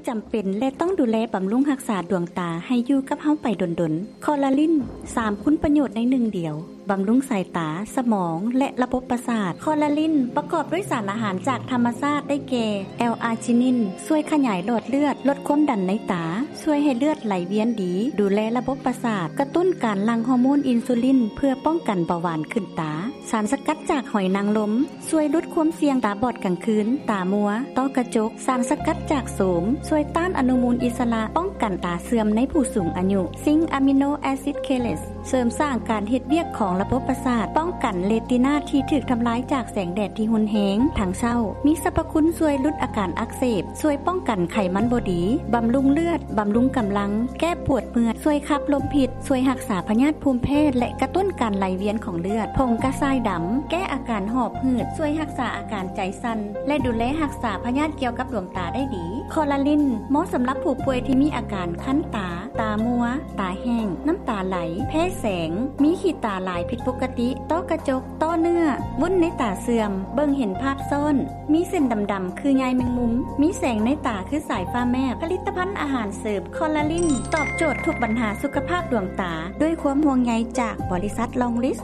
ຈຳເປັນ ແລະ ຕ້ອງດູແລບຳລຸງຮັກສາດວງຕາໃຫ້ຢູ່ກັບເຮົາໄປດົນໆ. ຄໍລາລິນ ສາມຄຸນປະໂຫຍດໃນໜຶ່ງດຽວ, ບຳລຸງສາຍຕາ, ສະໝອງ ແລະ ລະບົບປະສາດ. ຄໍລາລິນ ປະກອບດ້ວຍສານອາຫານຈາກທຳມະຊາດ ໄດ້ແກ່ ແອລອາຈິນິນ ຊ່ວຍຂະຫຍາຍຫຼອດເລືອດ, ລົດຄວາມດັນໃນຕາ, ຊ່ວຍໃຫ້ເລືອດໄຫຼວຽນດີ, ດູແລລະບົບປະສາດ, ກະຕຸ້ນການຫຼັ່ງຮໍໂມນອິນຊູລິນ ເພື່ອປ້ອງກັນເບົາຫວານຂຶ້ນຕາ. ສານສະກັດຈາກຫອຍນາງລົມ ຊ່ວຍຫຼຸດຄວາມສ່ຽງຕາບອດກາງຄືນ, ຕາມົວ, ຕ້ອກະຈົກ. ສານສະກັດຈາກໂສມ ຊ່ວຍຕ້ານອະນຸມູນອິດສະຫຼະ, ປ້ອງກັນຕາເສື່ອມໃນຜູ້ສູງອາຍຸ. ຊິງອາມິໂນແອຊິດເຄເລດ ເສີມສ້າງການເຮັດວຽກຂອງລະບົບປະສາດ, ປ້ອງກັນເຣຕິນາທີ່ຖືກທຳລາຍຈາກແສງແດດທີ່ຮຸນແຮງທັງເຊົ້າ. ມີສັບພະຄຸນຊ່ວຍຫຼຸດອາການອັກເສບ, ຊ່ວຍປ້ອງກັນໄຂມັນບໍ່ດີ, ບຳລຸງເລືອດ, ບຳລຸງກຳລັງ, ແກ້ປວດເມື່ອຍ, ຊ່ວຍຂັບລົມພິດ, ຊ່ວຍຮັກສາພະຍາດພູມແພ້ ແລະ ກະຕຸ້ນການໄຫຼວຽນຂອງເລືອດ. ຜົງກະຊາຍດຳ ແກ້ອາການຫອບ ຫືດ, ຊ່ວຍຮັກສາອາການໃຈສັ່ນ ແລະ ດູແລຮັກສາພະຍາດກ່ຽວກັບດວງຕາໄດ້ດີ. ຄໍລາລິນ ເໝາະສຳລັບຜູ້ປ່ວຍທີ່ມີອາການຄັນຕາ, ຕາມົວ, ຕາແຫ້ງ, ນ້ຳຕາໄຫຼ, ແພ້ແສງ, ມີຂີ້ຕາຫຼາຍຜິດປົກກະຕິ, ຕ້ອກະຈົກ, ຕໍ່ເນື້ອ, ວຸ້ນໃນຕາເສື່ອມ, ເບິ່ງເຫັນພາບຊ້ອນ, ມີເສັ້ນດຳໆຄືໃຍແມງມຸມ, ມີແສງໃນຕາຄືສາຍຟ້າແມບ. ຜະລິດຕະພັນອາຫານເສີມຄໍລາລິນ ຕອບໂຈດທຸກບັນຫາສຸຂະພາບດວງຕາ ດ້ວຍຄວາມຫ່ວງໃຍຈາກບໍລິສັດລອງລິສ.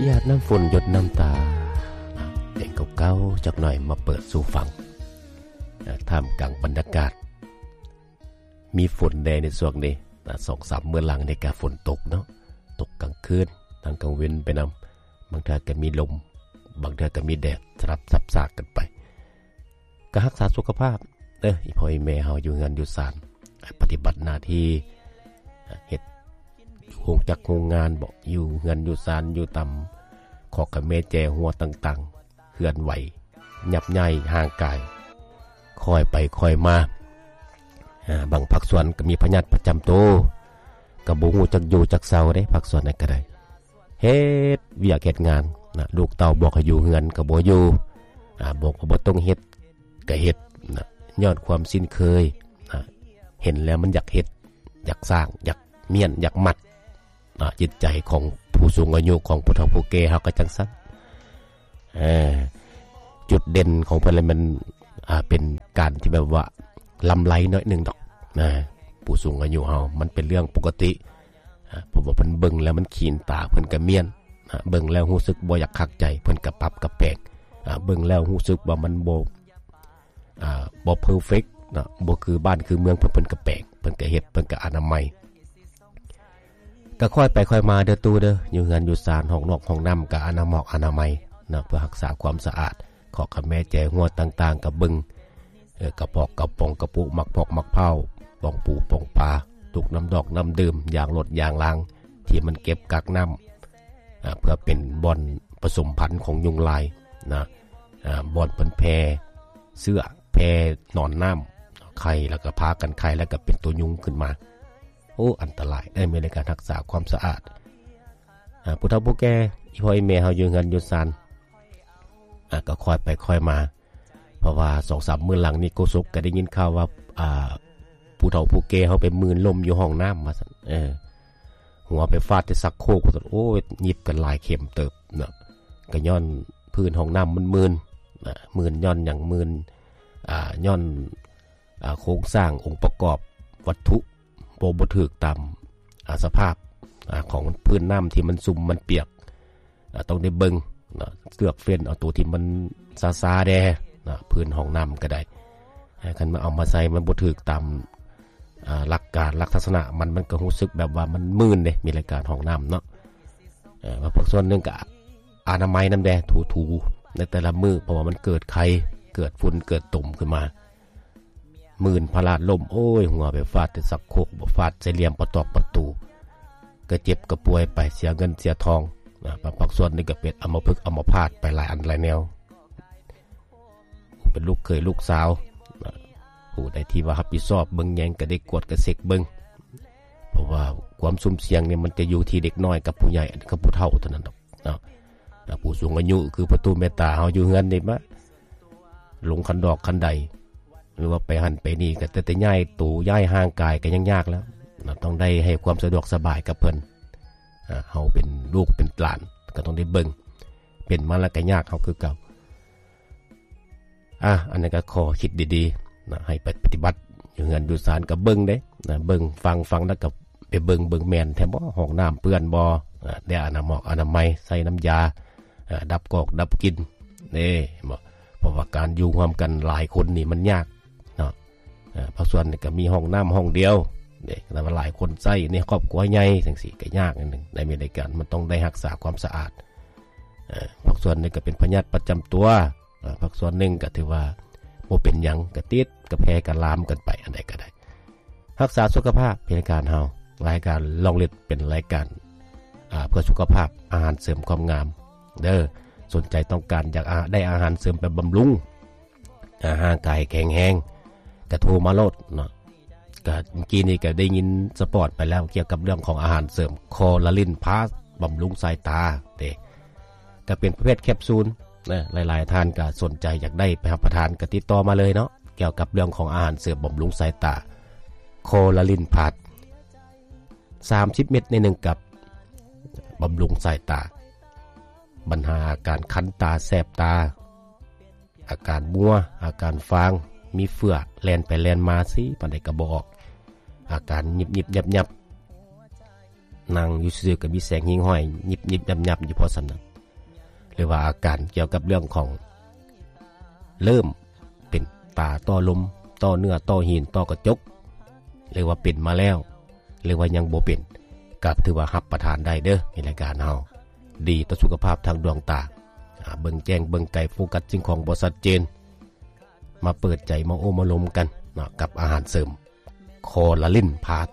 ຢາດນ້ຳຝົນຢົດນ້ຳຕາ ເພງເກົ່າໆຈັກໜ່ອຍມາເປີດສູ່ຟັງ ທ່າມກາງບັນຍາກາດ ມີຝົນແດ່ໃນຊ່ວງນີ້ ສອງສາມມື້ຫຼັງນີ້ກະຝົນຕົກເນາະ ຕົກກາງຄືນ ທັງກາງເວັນໄປນຳ ບາງເທື່ອກະມີລົມ ບາງເທື່ອກະມີແດດ ສະຫຼັບສັບສາບກັນໄປ. ກະຮັກສາສຸຂະພາບເດີ ອີ່ພໍ່ອີ່ແມ່ເຮົາຢູ່ເຮືອນຢູ່ຊານ ປະຕິບັດໜ້າທີ່ ເຮັດໂຮງຈັກໂຮງງານບໍ ຢູ່ເຮືອນຢູ່ຊານ ຢູ່ຕາມຄອກກະແມແຈຫົວຕ່າງໆ ເຄື່ອນໄຫວ ຫຍັບຍ້າຍຮ່າງກາຍ ຄ່ອຍໄປຄ່ອຍມາ. ບາງພາກສ່ວນກະມີພະຍາດປະຈຳໂຕ ກະບໍ່ຮູ້ຈັກຢູ່ຈັກເຊົາເດ້ ພາກສ່ວນນັ້ນກະໄດ້ ເຮັດວຽກເຮັດງານນະ ລູກເຕົ້າບອກໃຫ້ຢູ່ເຮືອນກະບໍ່ຢູ່ ອາ ບອກວ່າບໍ່ຕ້ອງເຮັດກະເຮັດນະ ຍ້ອນຄວາມຊິນເຄີຍນະ ເຫັນແລ້ວມັນຢາກເຮັດ ຢາກສ້າງ ຢາກມ້ຽນ ຢາກມັດນະ ຈິດໃຈຂອງຜູ້ສູງອາຍຸ ຂອງຜູ້ເຖົ້າຜູ້ແກ່ເຮົາກະຈັ່ງຊັ້ນ. ເອີ ຈຸດເດັ່ນຂອງເພິ່ນລະແມ່ນ ອາ ເປັນການທີ່ແບບວ່າລຳໄລໜ້ອຍໜຶ່ງດອກນະ ຜູ້ສູງອາຍຸເຮົາ ມັນເປັນເລື່ອງປົກກະຕິ ອາ ເພາະວ່າເພິ່ນເບິ່ງແລ້ວມັນຂີນຕາ ເພິ່ນກະມ້ຽນ ອາ ເບິ່ງແລ້ວຮູ້ສຶກບໍ່ຢາກຄັກໃຈ ເພິ່ນກະປັບກະແປງ ອາ ເບິ່ງແລ້ວຮູ້ສຶກວ່າມັນບໍ່ ອາ ບໍ່ເພີເຟັກເນາະ ບໍ່ຄືບ້ານຄືເມືອງເພິ່ນ ເພິ່ນກະແປງ ເພິ່ນກະເຮັດ ເພິ່ນກະອະນາໄມ. ກະຄ່ອຍໄປຄ່ອຍມາເດີຕູ້ເດີ ຢູ່ເຮືອນຢູ່ຊານ ຫ້ອງນອກຫ້ອງນ້ຳກະອະນາໝອກອະນາໄມເນາະ ເພື່ອຮັກສາຄວາມສະອາດ ຄອກກະແມແຈຫົວຕ່າງໆກະເບິ່ງ ເອີ ກະປອກກະປ໋ອງ ກະປຸໝາກພອກໝາກພ້າວ ປ໋ອງປູປ໋ອງປາ ຕຸກນ້ຳດອກນ້ຳດື່ມ ຢາງລົດຢາງລາງ ທີ່ມັນເກັບກັກນ້ຳ ອາ ເພື່ອເປັນບ່ອນປະສົມພັນຂອງຍຸງລາຍນະ ອາ ບ່ອນເພິ່ນແຜ່ເຊື້ອ ແຜ່ໜອນນ້ຳ ໄຂ່ ແລ້ວກະພາກັນໄຂ່ ແລ້ວກະເປັນໂຕຍຸງຂຶ້ນມາ. ໂອ້ ອັນຕະລາຍເດີ ມີແຕ່ການຮັກສາຄວາມສະອາດ. ອາ ຜູ້ເຖົ້າຜູ້ແກ່ ອີ່ພໍ່ອີ່ແມ່ເຮົາຢູ່ເຮືອນຢູ່ຊານ ອາ ກະຄ່ອຍໄປຄ່ອຍມາ ເພາະວ່າສອງສາມມື້ຫຼັງນີ້ ໂຄສົກກະໄດ້ຍິນຂ່າວວ່າ ອາ ຜູ້ເຖົ້າຜູ້ແກ່ເຮົາໄປມື່ນລົມຢູ່ຫ້ອງນ້ຳວ່າຊັ້ນ ເອີ ຫົວໄປຟາດແຕ່ຊັກໂຄກວ່າຊັ້ນ. ໂອ້ຍ ຫຍິບກັນຫຼາຍເຂັມເຕີບເນາະ ກະຍ້ອນພື້ນຫ້ອງນ້ຳມັນມື່ນນະ ມື່ນຍ້ອນຫຍັງ? ມື່ນ ອາ ຍ້ອນ ອາ ໂຄງສ້າງອົງປະກອບວັດຖຸບໍ່ ບໍ່ຖືກຕາມ ອາ ສະພາບ ອາ ຂອງພື້ນນ້ຳທີ່ມັນຊຸ່ມມັນປຽກ ອາ ຕ້ອງໄດ້ເບິ່ງເນາະ ເລືອກເຟ້ນເອົາໂຕທີ່ມັນຊາໆແດ່ເນາະ ພື້ນຫ້ອງນ້ຳກະໄດ້ ຄັນມາເອົາມາໃສ່ມັນບໍ່ຖືກຕາມ ອາ ຫຼັກການ ລັກສະນະມັນ ມັນກະຮູ້ສຶກແບບວ່າມັນມື່ນເດ້ ມີລາຍການຫ້ອງນ້ຳເນາະ. ເອີ ພາກສ່ວນໜຶ່ງກະອະນາໄມນຳແດ່ ຖູໆໃນແຕ່ລະມື້ ເພາະວ່າມັນເກີດໄຂ້ ເກີດຝຸ່ນ ເກີດຕົມຂຶ້ນມາ ມື່ນພະລາດລົ້ມ ໂອ້ຍ ຫົວໄປຟາດແຕ່ຊັກໂຄກ ບໍ່ ຟາດໃສ່ຫຼ່ຽມປະຕອກປະຕູ ກະເຈັບກະປ່ວຍໄປ ເສຍເງິນເສຍທອງນະ. ບາງພາກສ່ວນນີ້ກະເປັນອຳມະພຶກອຳມະພາດໄປຫຼາຍອັນຫຼາຍແນວ. ຜູ້ເປັນລູກເຂີຍລູກສາວນະ ຜູ້ໃດທີ່ວ່າຮັບຜິດຊອບເບິ່ງແຍງກະໄດ້ກວດກະເຊັກເບິ່ງ ເພາະວ່າຄວາມຊຸ່ມສ່ຽງນີ້ມັນຈະຢູ່ທີ່ເດັກນ້ອຍກັບຜູ້ໃຫຍ່ ກັບຜູ້ເຖົ້າເທົ່ານັ້ນດອກເນາະ. ອາ ຜູ້ສູງອາຍຸຄືພໍ່ຕູ້ແມ່ຕາເຮົາຢູ່ເຮືອນນີ້ມາ ລົງຄັນດອກຄັນໄດ ຫຼືວ່າໄປຫັ້ນໄປນີ້ ກະແຕ່ ແຕ່ຍ້າຍໂຕຍ້າຍຮ່າງກາຍກະຍັງຍາກແລ້ວເນາະ ຕ້ອງໄດ້ໃຫ້ຄວາມສະດວກສະບາຍກັບເພິ່ນ. ອາ ເຮົາເປັນລູກເປັນຫຼານ ກໍຕ້ອງໄດ້ເບິ່ງ. ເປັນມາແລ້ວກໍຍາກເຮົາຄືເກົ່າ. ອາ ອັນນັ້ນກໍຂໍຄິດດີໆນະ ໃຫ້ໄປປະຕິບັດ ຢູ່ເຮືອນຢູ່ຊານກໍເບິ່ງເດ້ນະ ເບິ່ງຟັງ ຟັງແລ້ວກໍໄປເບິ່ງ ເບິ່ງແມ່ນແທ້ບໍ່ ຫ້ອງນ້ຳເປື້ອນບໍ່ ອາ ໄດ້ອະນາມອກອະນາໄມ ໃຊ້ນ້ຳຢາ ອາ ດັບກອກດັບກິ່ນເດ້ ເຫັນບໍ່? ເພາະວ່າການຢູ່ຮ່ວມກັນຫຼາຍຄົນນີ້ມັນຍາກເນາະ. ອາ ພາກສ່ວນນີ້ກໍມີຫ້ອງນ້ຳຫ້ອງດຽວເດ້ ແຕ່ວ່າຫຼາຍຄົນໃຊ້ໃນຄອບຄົວໃຫຍ່ຈັ່ງຊີ້ກໍຍາກໜ້ອຍໜຶ່ງ ໃນມີລາຍການ ມັນຕ້ອງໄດ້ຮັກສາຄວາມສະອາດ. ອາ ພາກສ່ວນນີ້ກໍເປັນພະຍາດປະຈຳຕົວ ອາ ພາກສ່ວນໜຶ່ງກໍຖືວ່າບໍ່ເປັນຫຍັງ ກໍຕິດ ກໍແຜ່ ກໍລາມກັນໄປ ອັນໃດກໍໄດ້. ຮັກສາສຸຂະພາບ ເປັນລາຍການເຮົາ ລາຍການລອງລິດ ເປັນລາຍການ ອາ ເພື່ອສຸຂະພາບ ອາຫານເສີມຄວາມງາມເດີ. ສົນໃຈຕ້ອງການຢາກອາ ໄດ້ອາຫານເສີມໄປບຳລຸງ ອາ ຮ່າງກາຍແຂງແຮງ ກະໂທມາໂລດເນາະ. ກະເມື່ອກີ້ນີ້ກະໄດ້ຍິນສະປອດໄປແລ້ວ ກ່ຽວກັບເລື່ອງຂອງອາຫານເສີມຄໍລາລິນພາສ ບຳລຸງສາຍຕາເດ້ ກະເປັນປະເພດແຄບຊູນນະ. ຫຼາຍໆທ່ານກະສົນໃຈຢາກໄດ້ໄປຮັບປະທານ ກະຕິດຕໍ່ມາເລີຍເນາະ ກ່ຽວກັບເລື່ອງຂອງອາຫານເສີມບຳລຸງສາຍຕາ ຄໍລາລິນພາສ ສາມສິບເມັດໃນໜຶ່ງກັບ ບຳລຸງສາຍຕາ. ບັນຫາອາການຄັນຕາ ແສບຕາ ອາການມົວ ອາການຟາງ ມີເຟືອ ແລ່ນໄປແລ່ນມາ ຊີ້ປານໃດກໍບໍ່ອອກ ອາການຫຍິບໆຫຍັບໆ ນັ່ງຢູ່ຊື່ໆກໍມີແສງຫິ້ງຫ້ອຍ ຫຍິບໆຫຍັບໆຢູ່ພໍສ່ຳນັ້ນ ຫຼືວ່າອາການກ່ຽວກັບເລື່ອງຂອງ ເລີ່ມເປັນຕາຕໍ່ລົມ ຕໍ່ເນື້ອ ຕໍ່ຫີນ ຕໍ່ກະຈົກ ຫຼືວ່າເປັນມາແລ້ວ ຫຼືວ່າຍັງບໍ່ເປັນ ກໍຖືວ່າຮັບປະທານໄດ້ເດີ ໃນລາຍການເຮົາ ດີຕໍ່ສຸຂະພາບທາງດວງຕາ ອາ ເບິ່ງແຈ້ງເບິ່ງໄກ ໂຟກັສສິ່ງຂອງບໍ່ຊັດເຈນ ມາເປີດໃຈ ມາໂອ້ມາລົມກັນເນາະ ກັບອາຫານເສີມຄໍລາລິນພາສ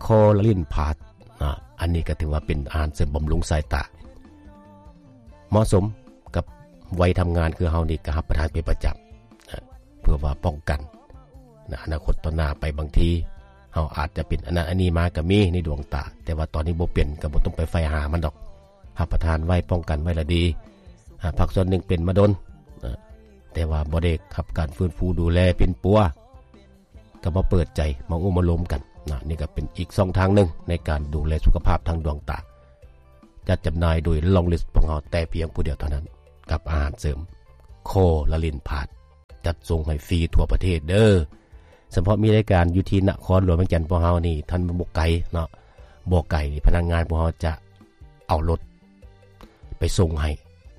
ຄໍລາລິນພາສ ອາ ອັນນີ້ກໍຖືວ່າເປັນອາຫານເສີມບຳລຸງສາຍຕາ ເໝາະສົມກັບໄວທຳງານຄືເຮົານີ້ ກໍຮັບປະທານເປັນປະຈຳ ເພື່ອວ່າປ້ອງກັນ ໃນອະນາຄົດຕໍ່ໜ້າໄປ ບາງທີເຮົາອາດຈະເປັນອັນນັ້ນອັນນີ້ມາກໍມີໃນດວງຕາ ແຕ່ວ່າຕອນນີ້ບໍ່ເປັນ ກໍບໍ່ຕ້ອງໄປໃຝ່ຫາມັນດອກ ຮັບປະທານໄວ້ ປ້ອງກັນໄວ້ລະດີ. ອາ ພາກສ່ວນໜຶ່ງເປັນມາດົນ ແຕ່ວ່າບໍ່ໄດ້ຮັບການຟື້ນຟູດູແລປິ່ນປົວ ກໍມາເປີດໃຈ ມາໂອ້ມາລົມກັນນະ. ນີ້ກໍເປັນອີກຊ່ອງທາງໜຶ່ງໃນການດູແລສຸຂະພາບທາງດວງຕາ. ຈັດຈຳໜ່າຍໂດຍລອງລິດຂອງເຮົາແຕ່ພຽງຜູ້ດຽວເທົ່ານັ້ນ ກັບອາຫານເສີມຄໍລາລິນພາສ ຈັດສົ່ງໃຫ້ຟຣີທົ່ວປະເທດເດີ. ສະເພາະມີລາຍການຢູ່ທີ່ນະຄອນຫຼວງວຽງຈັນພວກເຮົານີ້ ທ່ານ ບໍ່ໄກເນາະ ບໍ່ໄກ ພະນັກງານພວກເຮົາຈະເອົາລົດໄປສົ່ງໃຫ້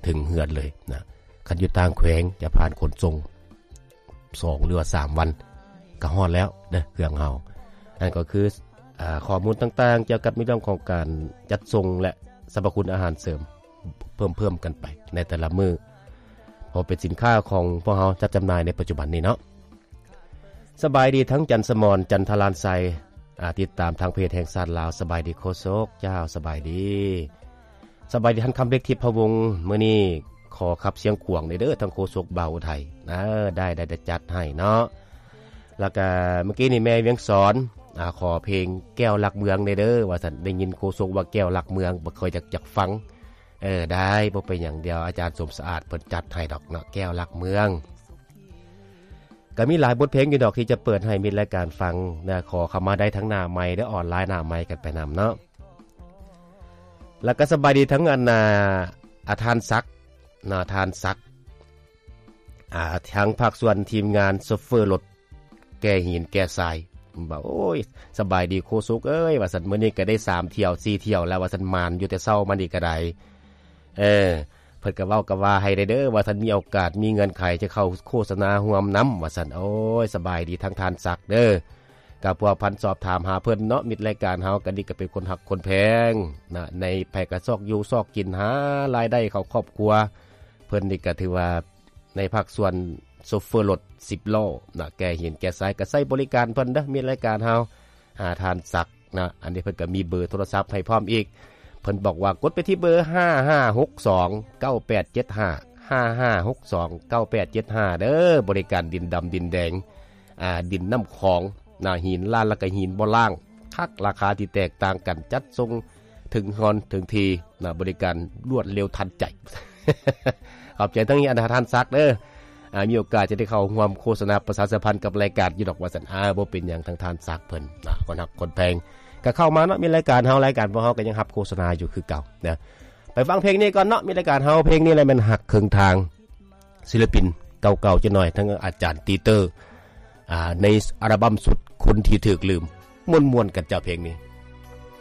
ເຖິງເຮືອນເລີຍນະ. ຄັນຢູ່ຕ່າງແຂວງຈະຜ່ານຂົນສົ່ງ ສອງ ຫຼືວ່າ ສາມ ວັນ ກໍຮອດແລ້ວເດີເຄື່ອງເຮົາ. ນັ້ນກໍຄື ອາ ຂໍ້ມູນຕ່າງໆກ່ຽວກັບໃນເລື່ອງຂອງການຈັດສົ່ງ ແລະ ສັບພະຄຸນອາຫານເສີມເພີ່ມໆກັນໄປໃນແຕ່ລະມື້ ເພາະເປັນສິນຄ້າຂອງພວກເຮົາຈັດຈຳໜ່າຍໃນປັດຈຸບັນນີ້ເນາະ. ສະບາຍດີທັງຈັນສະໝອນ ຈັນທະລານໄຊ ອາ ຕິດຕາມທາງເພຈແຫ່ງຊາດລາວ. ສະບາຍດີໂຄສົກ ເຈົ້າ ສະບາຍດີ. ສະບາຍດີທ່ານຄຳເລັກ ທິບພະວົງ ມື້ນີ້ຂໍຂັບຊຽງຂວາງແດ່ເດີ ທັງໂຄສົກບ່າວອຸໄທ. ເອີ ໄດ້ ໄດ້ ໄດ້ຈັດໃຫ້ເນາະ. ແລ້ວກະເມື່ອກີ້ນີ້ແມ່ວຽງສອນ ອາ ຂໍເພງແກ້ວລັກເມືອງແດ່ເດີ ວ່າຊັ້ນ. ໄດ້ຍິນໂຄສົກວ່າແກ້ວລັກເມືອງ ບໍ່ຄ່ອຍຢາກ ຢາກຟັງ. ເອີ ໄດ້ ບໍ່ເປັນຫຍັງ ດຽວອາຈານສົມສະອາດເພິ່ນຈັດໃຫ້ດອກເນາະ ແກ້ວລັກເມືອງ. ກໍມີຫຼາຍບົດເພງຢູ່ດອກທີ່ຈະເປີດໃຫ້ມິດລາຍການຟັງນະ. ຂໍເຂົ້າມາໄດ້ທັງໜ້າໄມ ແລະ ອອນລາຍໜ້າໄມກັນໄປນຳເນາະ. ແລ້ວກໍສະບາຍດີທັງອັນ ອາ ອາ ທ່ານສັກເນາະ ທ່ານສັກ ອາ ທັງພາກສ່ວນທີມງານໂຊເຟີລົດແກ່ຫີນແກ່ຊາຍ ວ່າ ໂອ້ຍ ສະບາຍດີໂຄສົກເອີຍ ວ່າຊັ້ນ. ມື້ນີ້ກໍໄດ້ສາມຖ້ຽວ ສີ່ຖ້ຽວແລ້ວ ວ່າຊັ້ນ. ໝານຢູ່ແຕ່ເຊົ້າມານີ້ກໍໄດ້ ເອີ ເພິ່ນກໍເວົ້າກໍວ່າໃຫ້ໄດ້ເດີ ວ່າທ່ານມີໂອກາດ ມີເງື່ອນໄຂຈະເຂົ້າໂຄສະນາຮ່ວມນຳ ວ່າຊັ້ນ. ໂອ້ຍ ສະບາຍດີທາງທ່ານສັກເດີ. ກໍພົວພັນສອບຖາມຫາເພິ່ນເນາະ ມິດລາຍການເຮົາກໍນີ້ກໍເປັນຄົນຮັກຄົນແພງນະ ໃນໃຜກໍຊອກຢູ່ຊອກກິນ ຫາລາຍໄດ້ເຂົ້າຄອບຄົວ. ເພິ່ນນີ້ກໍຖືວ່າໃນພາກສ່ວນໂຊເຟີລົດສິບລໍ້ນະ ແກ່ຫີນແກ່ຊາຍ ກໍໃຊ້ບໍລິການເພິ່ນເດີ ມິດລາຍການເຮົາ ອາ ທ່ານສັກ ນະ. ອັນນີ້ເພິ່ນກໍມີເບີໂທລະສັບໃຫ້ພ້ອມອີກ. ເພິ່ນບອກວ່າກົດໄປທີ່ເບີ ຫ້າຫ້າຫົກສອງ ເກົ້າແປດເຈັດຫ້າ ຫ້າຫ້າຫົກສອງ ເກົ້າແປດເຈັດຫ້າ ເດີ. ບໍລິການດິນດຳດິນແດງ ອາ ດິນນ້ຳຂອງນະ ຫີນລ້ານ ແລ້ວກໍຫີນບໍ່ລ້າງ ຄັກ ລາຄາທີ່ແຕກຕ່າງກັນ ຈັດສົ່ງເຖິງເຮືອນເຖິງທີ່ນະ ບໍລິການລວດເລັວທັນໃຈ. ຂອບໃຈທັງນີ້ ອາ ທ່ານສັກເດີ. ອາ ມີໂອກາດຈະໄດ້ເຂົ້າຮ່ວມໂຄສະນາປະຊາສຳພັນກັບລາຍການຢູ່ດອກ ວ່າຊັ້ນ. ອາ ບໍ່ເປັນຫຍັງ ທາງທ່ານສັກເພິ່ນນະ ຄົນຮັກຄົນແພງ ກໍເຂົ້າມາເນາະ ມີລາຍການເຮົາ ລາຍການພວກເຮົາກໍຍັງຮັບໂຄສະນາຢູ່ຄືເກົ່ານະ. ໄປຟັງເພງນີ້ກ່ອນເນາະ ມີລາຍການເຮົາ ເພງນີ້ແຫຼະແມ່ນຮັກເຄິ່ງທາງ ສິລະປິນເກົ່າໆຈັກໜ້ອຍ ທັງອາຈານຕີເຕີ ອ່າ ໃນອັລບັມຊຸດຄົນທີ່ຖືກລືມ ມ່ວນໆກັນເຈົ້າເພງນີ້.